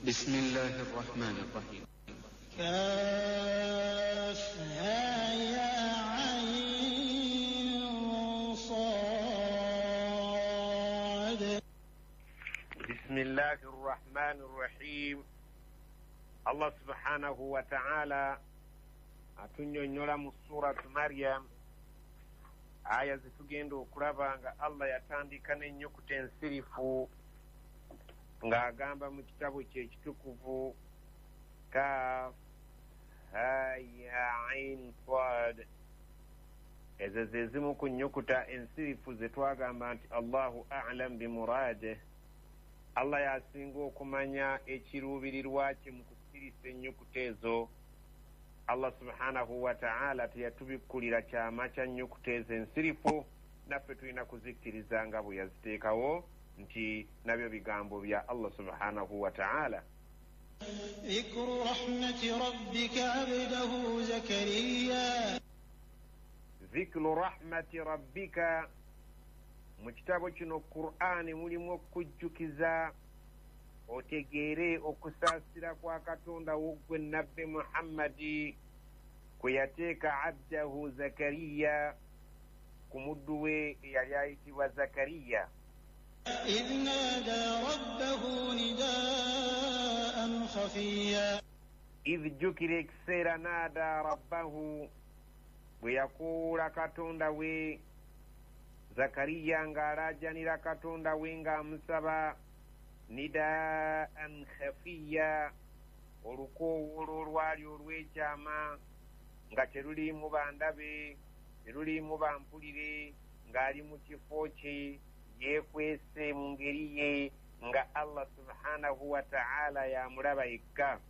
بسم الله الرحمن الرحيم. كاف ها يا عين صاد. بسم الله الرحمن الرحيم. Allah subhanahu wa ta'ala atunnyonnyola mu Suratu Maryam aya zetugenda okulaba nga Allah yatandika n'ennyukuta ensirifu ng'agamba mu kitabo kye ekitukuvu kaf ha ya ain sad. Ezo ze zimu ku nnyukuta ensirifu ze twagamba nti Allahu a'lam bimuradih, Allah yasinga okumanya ekiruubirirwa kye mu kusirisa ennyukuta ezo. Allah subhanahu wa ta'ala teyatubikkulira kyama kya nnyukuta ezo ensirifu, naffe tulina kuzikkiriza nga bwe yaziteekawo nti nabyo bigambo bya Allah subhanahu wa ta'ala. Dhikru rahmati rabbika abdahu Zakariya. Dhikru rahmati rabbika, mu kitabo kino Qur'ani mulimu okujjukiza otegeere okusaasira kwa Katonda wo ggwe Nabbi Muhammadi kwe yateeka abdahu Zakariya, ku muddu we eyali ayitibwa Zakariya. Idh nada rabbahu nidaan khafiya. Idh, jjukira ekiseera nada rabbahu, bwe yakoowoola Katonda we. Zakariya ng'alaajanira Katonda we ng'amusaba nidaan khafiya, olukoowoola olwali olw'ekyama nga teruliimu bandabe, teruliimu bampulire, ng'ali mu kifo kye yeekwese mu ngeri ye nga Allah subhanahu wa ta'ala yamulaba yekka.